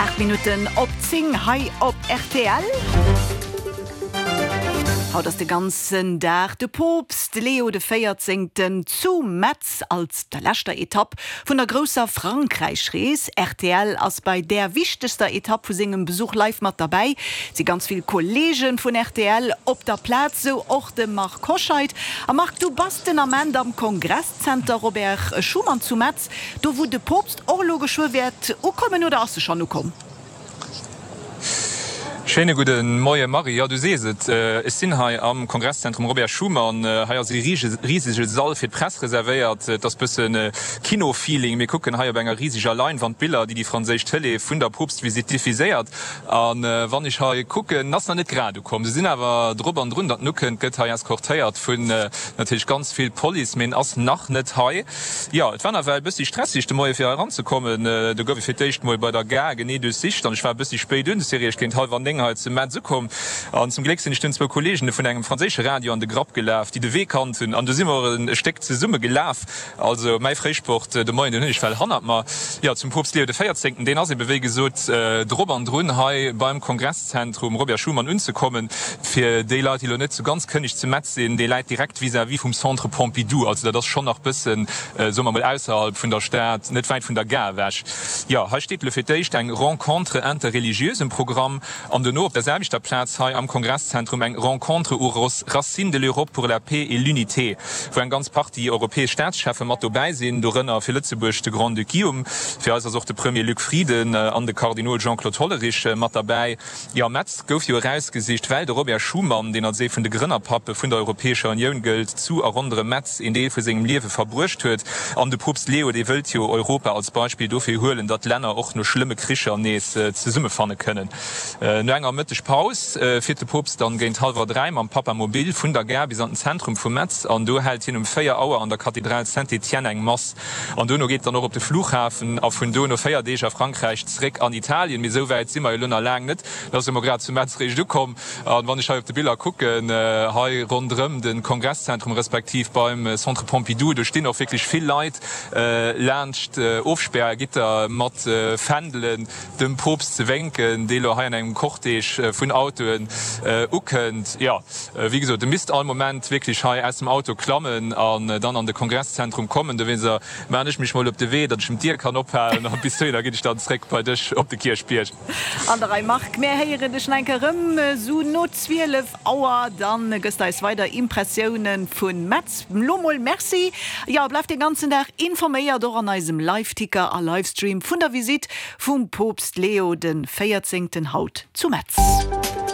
8 Minutten op 10 hei op rtl. Haut ass de ganzen Dag de Poopst Leo de Véierzéngten zu Metz als der leschter Etapp vun der grousser Frankräich-Rees. Rtl ass bei där wichtegster Etapp vu sengem Besuch live mat derbäi. Et si ganz vill Kolleege vun rtl op der Plaz, sou och de Marc Hoscheid. A Marc, du bass den Ament am Kongresszenter Robert Schuman zu Metz. Do wou de Poopst och elo geschwë wäert ukommen, oder ass e schonn ukomm? Schéine gudde Moie Marie. Jo, du sees et, ech sinn hei am Kongresszentrum Robert Schuman. Hei ass e risege Sall fir d'Press reservéiert. Et ass bësse Kino-Feeling. Mir kucken hei op enger riseger Leinwand Biller, déi déi franséisch Tëlee vun der Poopstvisitt diffuséiert. A wann ech hei kucken, en ass nach net grad ukomm. Se sinn awer drop an drun, datt en ukënnt. Gëtt hei eskortéiert vun natierlech ganz vill Police, mee en ass nach net hei. Jo, et war nawell e bëssi stresseg de Moie fir hei eranzekommen. Do gouf ech fir d'éischt mol bei der Gare genee duerchsicht an ech war e bëssi spéit un. Ech si eréischt géint hallwer 9 hei zu Metz ukomm an zum Gléck sinn ech dunn zwou Kolleegen vun engem franséische Radio an de Grapp gelaf, déi de Wee kannt hunn an du si mer och e Stéck zesumme gelaf. Also mäi Fréisport de Moien, deen hunn ech well hannert mer. Jo, zum Poopst Leo de Véierzéngten, deen ass ebe wéi gesot drop an drun hei beim Kongresszentrum Robert Schuman unzekommen. Fir déi Leit, déi elo net sou ganz kënneg zu Metz sinn, dee läit direkt vis-à-vis vum Centre Pompidou. Also dat ass schonn nach bëssen, soe mer mol, ausserhalb vun der Stad, net wäit vun der Gare ewech. Jo, hei steet elo fir d'éischt eng Rencontre interreligieuse um Programm an dono op der selwechter Plaz hei am Kongresszentrum eng Rencontre aux racines de l'Europe pour la paix et l'unité, wou eng ganz Partie europäesch Staatscheffe mat dobäi sinn, dorënner fir Lëtzebuerg de Grand-Duc Guillaume, fir eis ass och de Premier Luc Frieden an de Kardinol Jean-Claude Hollerich mat derbäi. Jo, Metz gouf jo erausgesicht, well de Robert Schuman, deen als ee vun de Grënnerpappe vun der Europäescher Unioun gëllt, zu a ronderëm Metz een Deel vu sengem Liewe verbruecht huet. An de Poopst Leo, dee wëllt jo Europa als Beispill dofir huelen, datt Länner och no schlëmme Kricher nees zesummefanne kënnen. No enger Mëttegpaus fiert de Poopst dann géint hallwer 3 mam Papamobil vun der Gare bis an den Zentrum vu Metz an do hält hien um 4 Auer an der Kathedral Saint-Étienne eng Mass. An dono geet et dann och op de Flughafen a vun do no 4 Deeg a Frankräich zeréck an Italien. Mee esou wäit si mer jo elo nach laang net. Et ass jo mol grad zu Metz réischt ukomm. An wann ech hei op de Biller kucken, hei ronderëm de Kongresszentrum respektiv beim Centre Pompidou, do stinn och wierklech vill Leit laanscht Ofspärgitter mat Fändelen, dem Poopst ze wénken, dee lo hei an engem Cortège vun Autoen ukënnt. Jo, wéi gesot, e misst all Moment wierklech hei aus dem Auto klammen an dann an de Kongresszentrum kommen. Dowéinster maachen ech mech mol op de Wee, datt ech em d'Dier kann ophalen a bis dohinner ginn ech dann zréck bei dech op de Kierchbierg. An der Rei, Marc. Mär héieren dech nach eng Kéier erëm esou no 12 Auer. Dann gëss de eis weider Impressiounen vun Metz. Lo mol Merci. Jo, bleift den ganzen Dag informéiert, och an eisem Liveticker a Livestream vun der Visitt vum Poopst Leo den 14. Haut zu Metz.